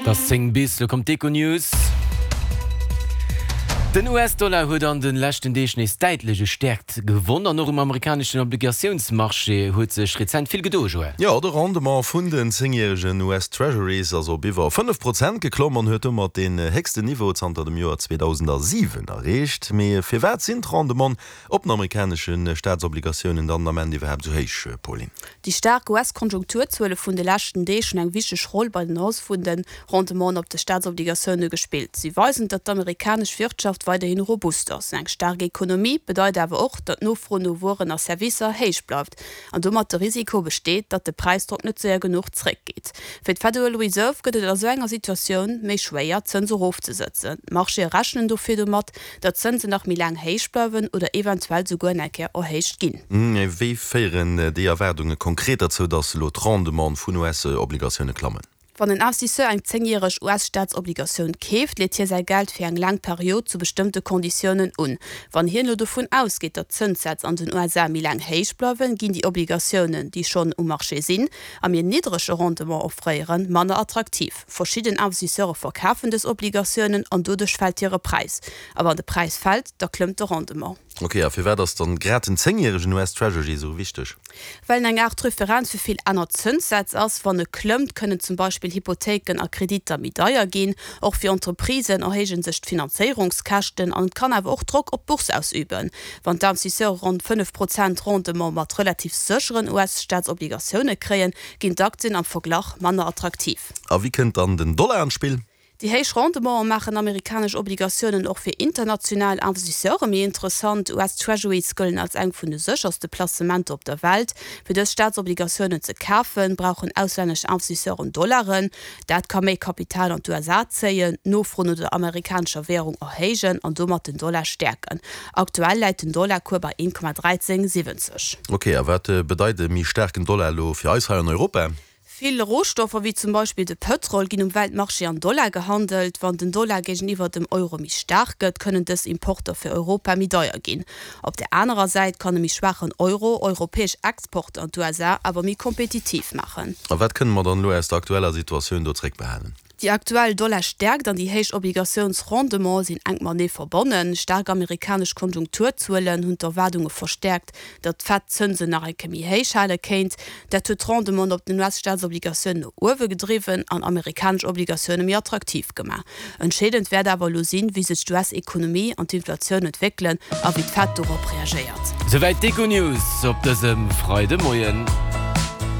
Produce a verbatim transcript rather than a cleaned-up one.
Et ass zéng bis, lo kommt d'Econews. Den U S-Dollar huet an de leschten Deeg nees däitlech u Stäerkt gewonn an och um amerikaneschen Obligatiounsmarché huet sech rezent vill gedoen, Joël. Jo, de Rendement vun den zéngjäregen U S-Treasuries ass op iwwer fënnef Prozent geklomm an huet domat deen héchsten Niveau zanter dem Joer zweedausendasiwen erreecht. Mee firwat sinn d'Rendementen op den amerikanesche Staatsobligatiounen dann den Ament iwwerhaapt esou héich, Pauline? Déi staark U S-Konjunkturzuele vun de leschten Deeg hunn eng wichteg Roll bei den Hausse vun de Rendementen op de Staatsobligatioune gespillt. Si weisen, datt d'amerikanesch Wirtschaft weiderhin robust ass. Eng staark Ekonomie bedeit awer och, datt d'Nofro no Wueren a Servicer héich bleift an domat de Risiko besteet, datt de Präisdrock net séier genuch zréckgeet. Fir d'Federal Reserve gëtt et a sou enger Situatioun méi schwéier, d'Zënse erofzesëtzen. D'Marchéë rechnen dofir domat, datt d'Zënsen nach méi laang héich bleiwen oder eventuell souguer eng Kéier erhéicht ginn. Wéi féieren déi Erwaardunge konkret derzou, datt elo d'Rendementen vun U S-Obligatioune klammen? Wann en Investisseur eng zéngjäreg U S-Staatsobligatioun keeft, leet hie säi Geld fir eng laang Period zu bestëmmte Konditiounen un. Wann hien elo dovun ausgeet, datt d'Zënssätz an den U S A méi laang héich bleiwen, ginn déi Obligatiounen, déi schonn um Marché sinn a méi niddrege Rendement offréieren, manner attraktiv. Verschidden Investisseure verkafen dës Obligatiounen an doduerch fält hire Präis. A wann de Präis fält, da klëmmt de Rendement. Ok, a firwat ass dann grad den zéngjäregen U S Treasury esou wichteg? Well en eng Aart Referenz fir vill aner Zënssätz ass. Wann e klëmmt, kënnen zum Beispill Hypothéiken a Kreditter méi deier ginn. Och fir Entreprisen erhéije sech d'Finanzéierungskäschten an et kann awer och Drock op d'Bourse ausüben. Wann d'Investisseure ronn fënnef Prozent Rendement mat relativ sécheren U S-Staatsobligatioune kréien, ginn d'Aktien am Verglach manner attraktiv. A wéi kënnt dann den Dollar an d'Spill? Déi héich Rendementen maachen amerikanesch Obligatiounen och fir international Investisseure méi interessant. U S Treasuries gëllen als eng vun de sécherste Placementer op der Welt. Fir dës Staatsobligatiounen ze kafen, brauchen auslännesch Investisseuren Dollaren. Dat ka méi Kapital an d'U S A zéien, d'Nofro no der amerikanescher Wärung erhéijen an domat den Dollar stäerken. Aktuell läit den Dollarcours bei een Komma dräizéng siwwenzeg. Ok, a wat bedeit e méi staarken Dollar elo fir eis hei an Europa? Vill Rohstoffer, wéi zum Beispill de Pëtrol, ginn um Weltmarché an Dollar gehandelt. Wann den Dollar géigeniwwer dem Euro méi staark gëtt, kënnen dës Importer fir Europa méi deier ginn. Op der anerer Säit kann e méi schwaachen Euro europäesch Exporter an d'U S A awer méi kompetitiv maachen. A wat kënne mer dann elo aus der aktueller Situatioun do zréckbehalen? Déi aktuell Dollarstäerkt an déi héich Obligatiounsrendementen sinn enk matenee verbonnen. Staark amerikanesch Konjunkturzuelen hunn d'Erwaardunge verstäerkt, datt d'Fed d'Zënsen nach eng Kéier méi héich hale kéint. Dat huet d'Rendementen op den U S-Staatsobligatiounen no uewe gedriwwen an amerikanesch Obligatioune méi attraktiv gemaach. Entscheedend wäert awer elo sinn, wéi sech d'U S-Ekonomie an d'Inflatioun entwéckelen a wéi d'Fed dorop reagéiert. Souwäit d'Econews op dësem Freidemoien.